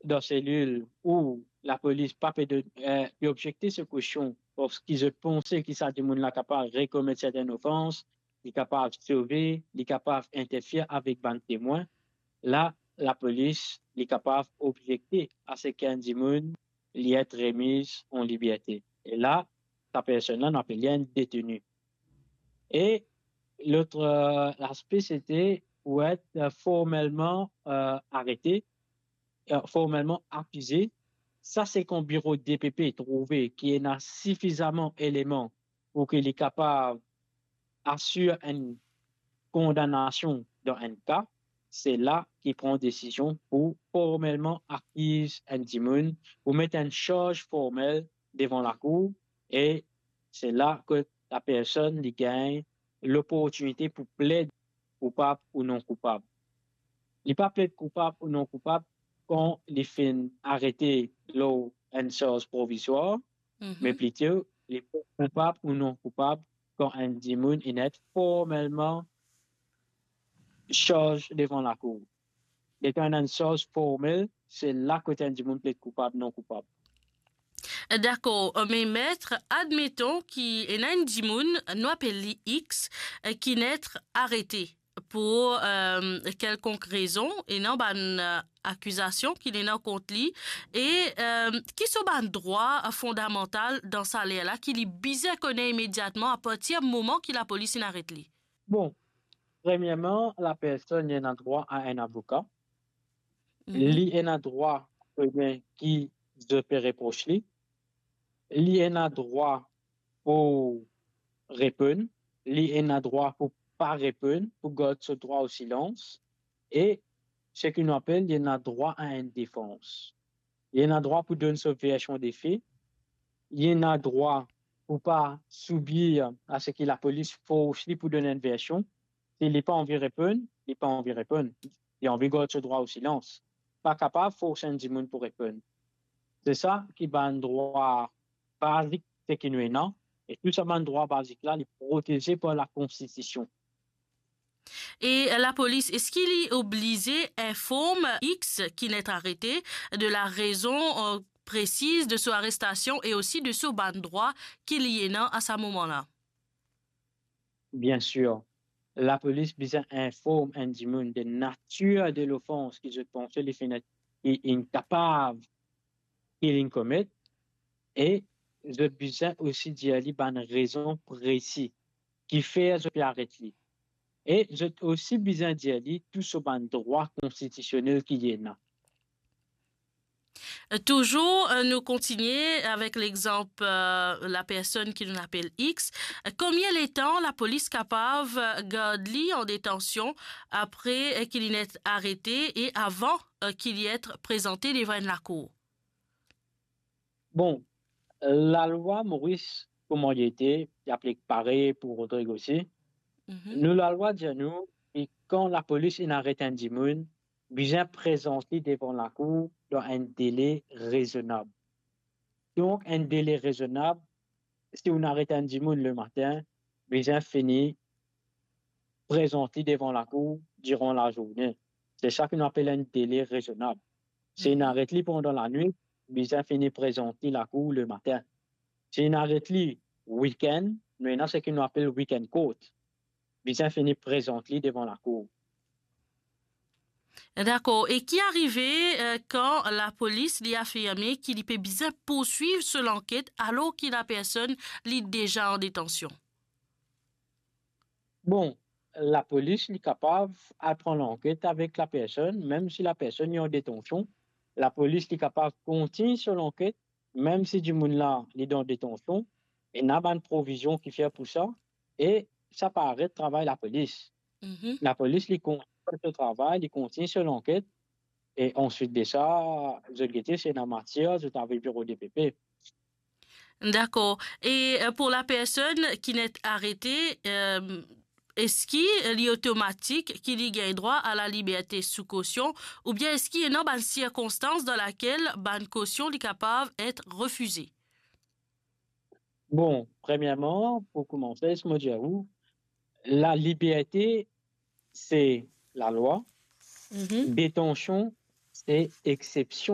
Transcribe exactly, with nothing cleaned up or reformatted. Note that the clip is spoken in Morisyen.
dan selil ou lapolis pa pe donn, eh, pe objekte so kosyon, parski zot panse ki sa dimoun la kapav rekomet sertenn ofans, li kapav sove, li kapav interfer avek bann temwin, la, lapolis, li kapav objekte a seki enn dimoun li et remiz an liberte. E la, sa personn la, nou apel li enn deteni. E lot, eh, laspe, sete pou et, eh, formelman, eh, arete, eh, formelman akize. Sa se kan biro D P P trouve ki ena sifizaman eleman pou ki li kapav asir enn kondanasion dan enn ka, se la ki pran desizion pou formelman akiz enn dimoun, pou met enn sarz formel devan lakour, e se la ki lapersonn li gagn loportinite pou pled koupab ou non koupab. Li pa pled koupab ou non koupab kan li finn arete lor enn sarz provizwar, Mhm. me plito li pled koupab ou non koupab kan enn dimoun inn et formelman sarz devan lakour. Letan ena enn sarz formel, se la kot enn dimoun pled koupab, non koupab. Dakor, me met, admeton ki ena enn dimoun, nou apel li X, eh, ki inn et arete pou, eh, kelkonk rezon, ena bann, eh, akizasion ki li ena kont li, e, eh, ki so bann drwa fondamantal dan sa ler la ki li bizin kone imediatman apartir moman ki lapolis inn aret li? Bon, premierman, lapersonn li ena drwa a enn avoka. Mhm. Li ena drwa kone ki zot pe repros li. Li ena drwa pou reponn. Li ena drwa pou pa reponn, pou gard so drwa o silans. E seki nou apel, li ena drwa a enn defans. Li ena drwa pou donn so version de fe. Li ena drwa pou pa soubir a seki lapolis fors li pou donn enn version. Si li pa anvi reponn, li pa anvi reponn. Li anvi gard so drwa o silans. Pa kapav fors enn dimoun pou reponn. Se sa ki bann drwa bazik seki nou ena, e tou sa bann drwa bazik la, li proteze par lakonstitision. E lapolis, eski li oblize inform X ki inn et arete de larezon, eh, presiz de so arestasion e osi de so bann drwa ki li ena a sa moman la? Bien sir, lapolis bizin inform enn dimoun de natir de lofans ki zot panse li finn, li inn kapav, ki linn komet, e zot bizin osi dir li bann rezon presi ki fer zot pe aret li. E zot osi bizin dir li tou so bann drwa konstitisionel ki li ena. Touzour, eh, nou kontigne avek lexanp, eh, lapersonn ki nou apel X. Konbien letan lapolis kapav, eh, gard li an detansion apre, eh, ki li inn et arete e avan, eh, ki li et prezante devan enn lakour? Bon, lalwa Moris, kouma li ete, li aplik parey pou Rodrig osi. Mhm. Nou lalwa dir nou ki kan lapolis inn aret enn dimoun, bizin prezant li devan lakour dan enn dele rezonab. Donk, enn dele rezonab, si ou aret enn dimoun lematin, bizin fini prezant li devan lakour diran lazourne. Se sa ki nou apel enn dele rezonab. Si inn aret li pandan lanwit, bizin fini prezant li lakour lematin. Si inn aret li wikenn, nou ena seki nou apel weekend court. Bizin fini prezant li devan lakour. Dakor. E ki arive, eh, kan lapolis li afirme ki li pe bizin pourswiv so lanket alor ki lapersonn li deza an detansion? Bon, lapolis li kapav al pran lanket avek lapersonn, mem si lapersonn li an detansion. Lapolis li kapav kontign so lanket, mem si dimoun la li dan detansion. Ena bann provizion ki fer pou sa, e sa pa aret travay lapolis. Mhm. Lapolis li kontign so travay, li kontign so lanket, e answit de sa, zot gete si ena matier, zot avoy biro D P P. Dakor. E, eh, pou lapersonn ki inn et arete, eh, eski li otomatik ki li gagn drwa a laliberte sou kosion, oubien eski ena bann sirkonstans dan lakel bann kosion li kapav et refize? Bon, premierman, pou koumanse, les mo dir ou, laliberte, se lalwa. Mhm. Detansion, se exsepsion